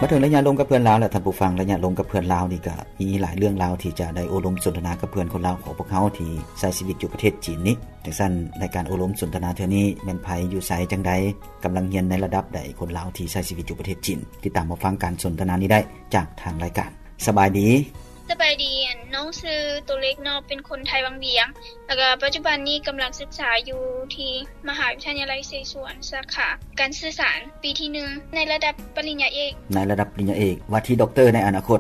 ມາເຖິງໄລຍະລົມກັບເພື່ອນລາວແລ້ວ ທ່ານຜູ້ຟັງ, ໄລຍະລົມກັບເພື່ອນລາວນີ້ກໍມີຫຼາຍເລື່ອງລາວທີ່ຈະໄດ້ໂອ້ລົມສົນທະນາກັບເພື່ອນຄົນລາວຂອງພວກເຮົາທີ່ໃຊ້ຊີວິດຢູ່ປະເທດຈີນນີ້. ຈັ່ງຊັ້ນ ໃນການໂອ້ລົມສົນທະນາເທື່ອນີ້ ແມ່ນໃຜ ຢູ່ໃສ ຈັ່ງໃດ, ກຳລັງຮຽນໃນລະດັບໃດ? ຄົນລາວທີ່ໃຊ້ຊີວິດຢູ່ປະເທດຈີນ ຕິດຕາມຮັບຟັງການສົນທະນານີ້ໄດ້ຈາກທາງລາຍການ. ສະບາຍດີ. ສະບາຍດີ, ອັນ ນ້ອງຊື່ໂຕເລັກເນາະ, ເປັນຄົນໄທວັງວຽງ ແລ້ວກໍປັດຈຸບັນນີ້ກຳລັງສຶກສາຢູ່ທີ່ມະຫາວິທະຍາໄລເສສວນ ສາຂາການສື່ສານ ປີທີໜຶ່ງ ໃນລະດັບປະລິນຍາເອກ. ໃນລະດັບປະລິນຍາເອກ, ວ່າທີ່ດັອກເຕີໃນອະນາຄົດ.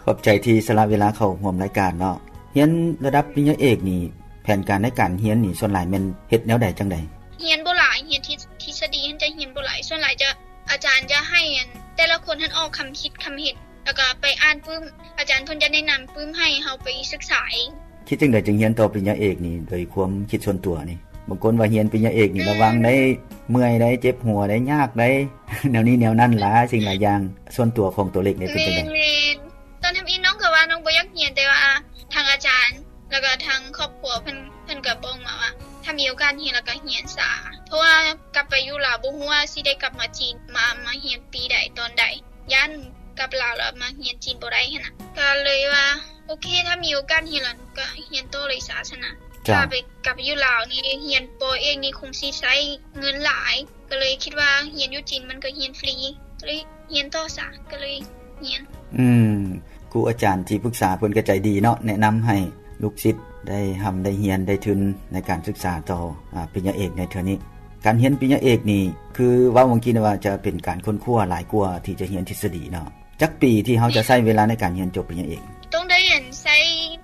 ຂອບໃຈທີ່ສະຫຼະເວລາເຂົ້າຮ່ວມລາຍການເນາະ. ຮຽນລະດັບປະລິນຍາເອກນີ້ ແຜນການໃນການຮຽນນີ້ ສ່ວນຫຼາຍແມ່ນເຮັດແນວໃດ ຈັ່ງໃດ? ຮຽນບໍ່ຫຼາຍ, ຮຽນທິດ ທິດສະດີຫັ້ນຈະຮຽນບໍ່ຫຼາຍ, ສ່ວນຫຼາຍຈະ ອາຈານຈະໃຫ້ ອັນ ແຕ່ລະຄົນຫັ້ນອອກຄຳຄິດຄຳເຫັນ ແລ້ວກໍໄປອ່ານປຶ້ມ, ອາຈານເພິ່ນຈະແນະນຳປຶ້ມໃຫ້ເຮົາໄປສຶກສາເອງ. ຄິດຈັ່ງໃດຈຶ່ງຮຽນຕໍ່ປະລິນຍາເອກນີ້ ໂດຍຄວາມຄິດສ່ວນຕົວນີ້? ບາງຄົນວ່າຮຽນປະລິນຍາເອກນີ້ ອືມ ລະວັງໄດ້ ເມື່ອຍໄດ້ ເຈັບຫົວໄດ້ ຍາກໄດ້ ແນວນີ້ແນວນັ້ນຫຼາຍສິ່ງຫຼາຍຢ່າງ. ສ່ວນຕົວຂອງໂຕເລັກນີ້ເປັນຈັ່ງໃດ? ແມ່ນໆ. ຕອນທຳອິດນ້ອງກໍວ່ານ້ອງບໍ່ຢາກຮຽນ, ແຕ່ວ່າທາງອາຈານ ແລ້ວກໍທາງຄອບຄົວເພິ່ນ ເພິ່ນກໍບອກມາວ່າ ຖ້າມີໂອກາດຮຽນແລ້ວກໍຮຽນສາ, ເພາະວ່າກັບໄປຢູ່ລາວບໍ່ຮູ້ວ່າຊິໄດ້ກັບມາຈີນ ມາ ມາຮຽນປີໃດຕອນໃດ, ຢ້ານກັບລາວແລ້ວມາຮຽນຈີນບໍ່ໄດ້ຫັ້ນນະ. ກໍເລີຍວ່າ ໂອເຄ ຖ້າມີໂອກາດຮຽນແລ້ວກໍຮຽນຕໍ່ເລີຍສາຊັ້ນນະ. ເຈົ້າ. ຖ້າໄປກັບຢູ່ລາວນີ້ ຮຽນປໍເອກນີ້ຄົງຊິໃຊ້ເງິນຫຼາຍ, ກໍເລີຍຄິດວ່າຮຽນຢູ່ຈີນມັນກໍຮຽນຟຣີ, ກໍເລີຍຮຽນຕໍ່ສາ, ກໍເລີຍຮຽນ. ອືມ ຄູອາຈານທີ່ປຶກສາເພິ່ນກໍໃຈດີເນາະ, ແນະນຳໃຫ້ລູກສິດໄດ້ຮ່ຳໄດ້ຮຽນ ໄດ້ທຶນໃນການສຶກສາຕໍ່ ອາ ປະລິນຍາເອກໃນເທື່ອນີ້. ການຮຽນປະລິນຍາເອກນີ້ ຄືເວົ້າເມື່ອກີ້ນີ້ວ່າຈະເປັນການຄົ້ນຄວ້າຫຼາຍກວ່າທີ່ຈະຮຽນທິດສະດີເນາະ. ຈັກປີທີ່ເຮົາຈະໃຊ້ເວລາໃນການຮຽນຈົບປະລິນຍາເອກ? ຕ້ອງໄດ້ ອັນ ໃຊ້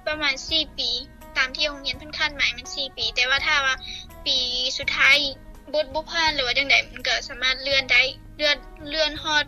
ປະມານສີ່ປີ, ຕາມທີ່ໂຮງຮຽນເພິ່ນຄາດໝາຍແມ່ນສີ່ປີ, ແຕ່ວ່າຖ້າວ່າປີສຸດທ້າຍບົດບໍ່ຜ່ານ ຫຼືວ່າຈັ່ງໃດ ມັນກໍສາມາດເລື່ອນໄດ້, ເລື່ອນ ເລື່ອນຮອດ